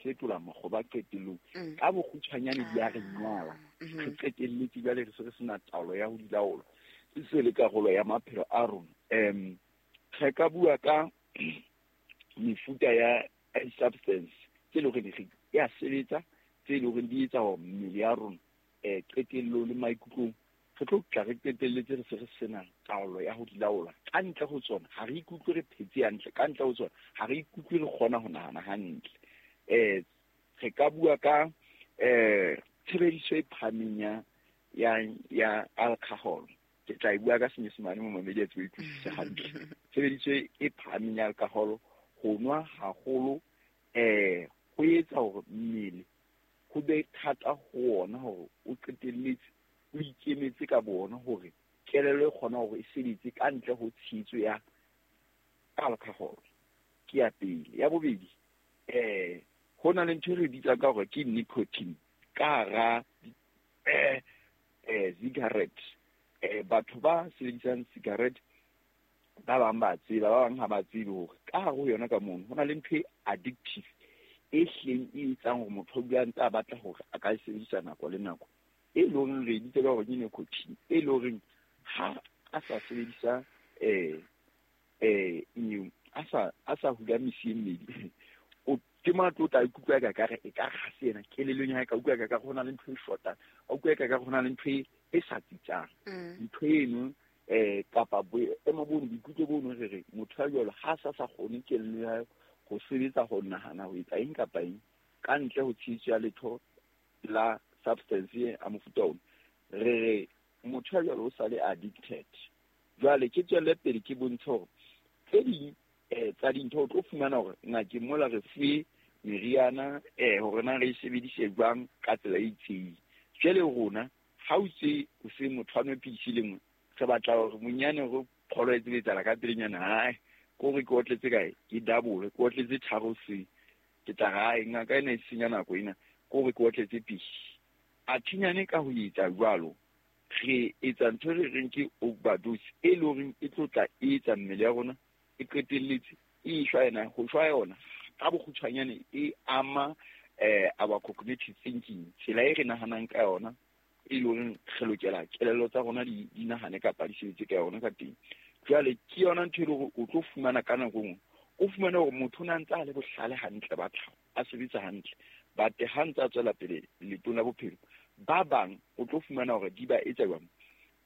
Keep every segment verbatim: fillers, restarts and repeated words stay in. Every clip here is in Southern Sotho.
fetola makgoba qetellong. Mm. Ka bokgutshwanyane di a re nyala. Mm-hmm. Re qetelletse jwale re se re sena taolo ya ho di laola. E se le karolo ya maphelo a rona. Em, re ka bua ka mefuta ya substance tse leng hore di ya sebetsa, tse leng hore di etsa hore mmele ya rona, eh, qetellong le maikutlong re tlo tla re qetelletse re se re sena taolo ya ho di laola. Ka ntle ho tsona ha re ikutlwe re phetse hantle, ka ntle ho tsona ha re ikutlwe re kgona ho nahana hantle. Eh, re ka bua ka, eh, tshebediso e phahameng ya, ya, ya alcohol. Ke tla e bua ka Senyesemane mo mamedi a tsebe ho utlwisisa hantle. Tshebediso e phahameng ya alcohol, ho nwa haholo, eh, ho etsa hore mmele ho be thata ho ona hore o qetelletse o ikemetse ka bona hore kelello e kgona hore e sebetse ka ntle ho tshehetso ya alcohol. Ke ya pele. Ya bobedi, eh, ho na le ntho e re bitsang ka hore ke nicotine ka hara, eh, eh, cigarette. Eh, batho ba sebedisang cigarette ba bang ba tseba, ba bang ha ba tsebe hore ka hare ho yona ka mono ho na le ntho e addictive e hleng e etsang hore motho o dula a ntse a batla hore a ka e sebedisa nako le nako, e leng hore re e bitsa ka hore ke nicotine, e leng hore ha a sa sebedisa, eh, eh, eng, a sa, a sa hula mesi e mmedi, o ke mo a tlo tla ikutlwa ka kare e ka ha se yena kelellong ya hae, ka utlwa ka kare ho na le ntho e shotang, a utlwa ka kare ho na le ntho e, e sa tsitsang. Mm. Ntho eno, eh, kapa boemo bono, boikutlo bono re re motho ya jwalo ha sa sa kgone kelello ya hae ho sebetsa, ho nahana, ho etsa eng kapa eng ka ntle ho tshehetso ya letho la substance e a mofuta ona, re re motho ya jwalo o sa le addicted. Jwale ke tswelle pele ke bontshe hore tse ding, eh, tsa dintho o tlo fumana hore ngakeng mola re fuwe meriana, eh, hore na re e sebedise jwang ka tsela e itseng. Jwale rona ha o tse o se motho a nwe pidisi le nngwe, re batla hore monyane hore pholo e tsebe etsahala ka pelenyana, hai, ke hore ke otletse kae, ke double, ke otletse tharo se, ke tla re, hai, ngaka ena e senya nako ena, ke hore ke otletse pedi. Athinyane ka ho etsa jwalo, re etsa ntho e re reng ke overdose, e leng hore e tlo tla e etsa mmele ya rona e qetelletse e shwa yena, ho shwa yona ka bokgutshwanyane e ama, eh, our cognitive thinking, tsela e re nahanang ka yona, e leng hore re lokela kelello tsa rona di, di nahane kapa di sebetse ka yona ka teng. Jwale ke yona ntho e leng hore o tlo fumana ka nako e nngwe, o fumane hore motho o na ntse a le bohlale hantle ba tlhaho, a sebetsa hantle, but ha ntse a tswela pele leetong la bophelo, ba bang o tlo fumana hore di ba etsa jwang,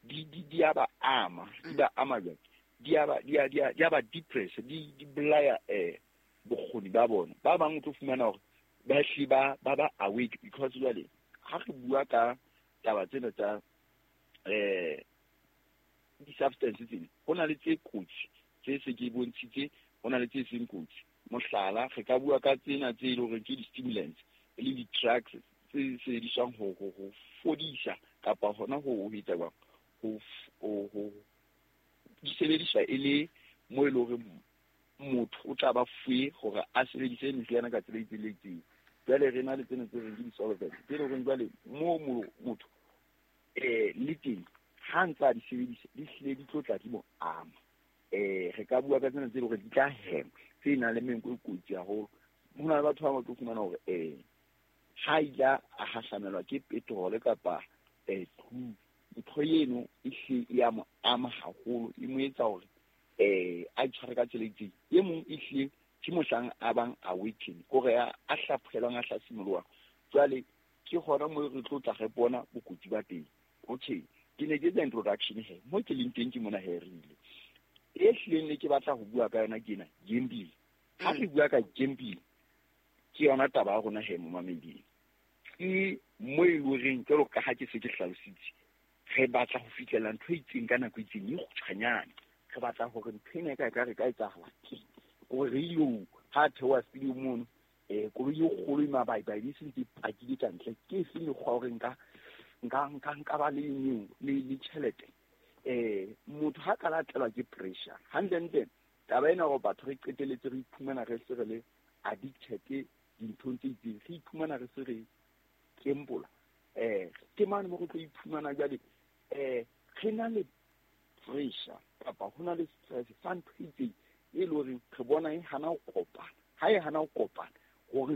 di, di, di a ba ama, di ba ama jwang, di a ba, di a, di a, di a ba depress, di, di bolaya, eh, bokgoni ba bona. Ba bang o tlo fumana hore ba hlile ba, ba ba awake, because jwale ha re bua ka taba tsena tsa, eh, di-substance tsena, ho na le tse kotsi tse se ke bontshitse, ho na le tse seng kotsi. Mohlala, re ka bua ka tsena tse leng hore ke di-stimulants, e leng di-drugs tse sebediswang ho, ho, ho fodisa kapa hona ho, ho etsa jwang, ho f-, ho, ho, di sebediswa e le mo e leng hore motho o tla ba fuwe hore a sebedise meriana ka tsela e itseng le itseng. Jwale re na le tsena tse reng ke di-solvents, tse leng hore jwale mo motho, eh, le teng ha ntse a di sebedisa, di hlile di tlo tla di mo ama. Eh, re ka bua ka tsena tse leng hore di tla hema, tse nang le menko e kotsi haholo. Ho na le batho ba bang ba tlo fumana hore, eh, ha ile a hahlamelwa ke petrol kapa, eh, glue, ntho eno e hle e a mo ama haholo, e mo etsa hore, eh, a itshware ka tsela e itseng. E mong e hlile ke mohlang a bang awaken, kore a, a hlaphohelwang, a hlasimoloha. Jwale ke hona moo re tlo tla re bona bokotsi ba teng. Okay, ke ne ke etsa introduction he, mo ke leng teng ke mona he re ile. E hlileng ne ke batla ho bua ka yona ke ena, gambling. Ha re bua ka gambling, ke yona taba ya rona he momameding. Ke mo e leng horeng jwalo ka ha ke se ke hlalositse, re batla ho fihlella ntho e itseng ka nako e itseng e kgutshwanyane. Re batla hore ntho ena e ka, e ka re ka etsahala ke hore re ilo ha theoha stadium mono, eh, koloi e kgolo e mabaibai e sentse e pakile ka ntle. Ke efe mekgwa hore nka, nka, nka, nka ba le eng, le, le tjhelete? Eh, motho ha ka latelwa ke pressure, hantlentle taba ena hore batho re qetelletse re iphumana re se re le addicted dinthong tse itseng, re iphumana re se re kempola. Eh, ke mane mo re tlo iphumana jwale, eh, re na le pressure kapa ho na le stress sa ntho e itseng e leng hore re bona e hana ho kopana. Ha e hana ho kopana, hore